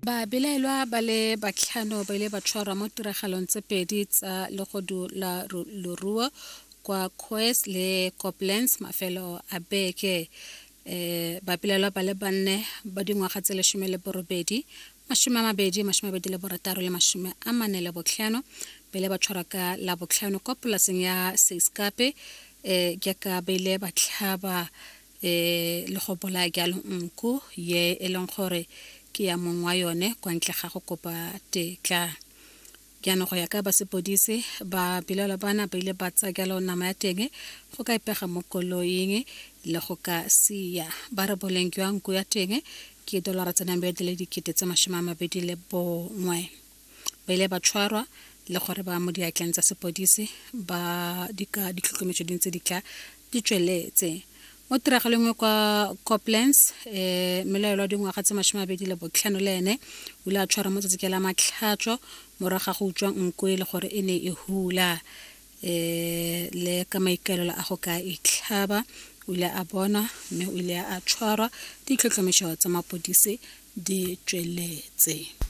Babelaelwa ba le batlhano ba ile ba tshwarwa mo tiragalong tse pedi tsa legodu la leruo kwa Koes le Koblenz mafelo a beke. Babelaelwa ba le banne ba dingwaga tse 18, 20, 26 le 45 ba ile ba tshwarwa ka Labotlhano kwa polaseng ya Seiskape jaaka ba ile ba tlhaba e le go bolaya jalo nku ye e leng gore ke ya mong wa yone kwa ntle ga go kopa tetla. Jaanong go ya ka ba sepodisi ba belaelwa bana ba ile ba tsaya jalo nama ya teng go ka ipega mo koloing le go ka sia. Ba re boleng jwa nku ya teng ke dolara tsa Namibia di le 21,000. Ba ile ba tshwarwa le gore ba mo diatleng tsa sepodisi ba dika ditlhotlhomiso di ntse di tla di tsweletse. Mo tiragalong nngwe kwa Koblenz, mmelaelwa wa dingwaga tse 25 le ene o ile a tshwarwa mo tsatsi la Matlhatso morago ga go utswa nku e le gore e ne e hula le ka maikaelelo a go ka itlhaba. O ile a bonwa mme o ile a tshwarwa, ditlhotlhomiso tsa mapodisi di tsweletse.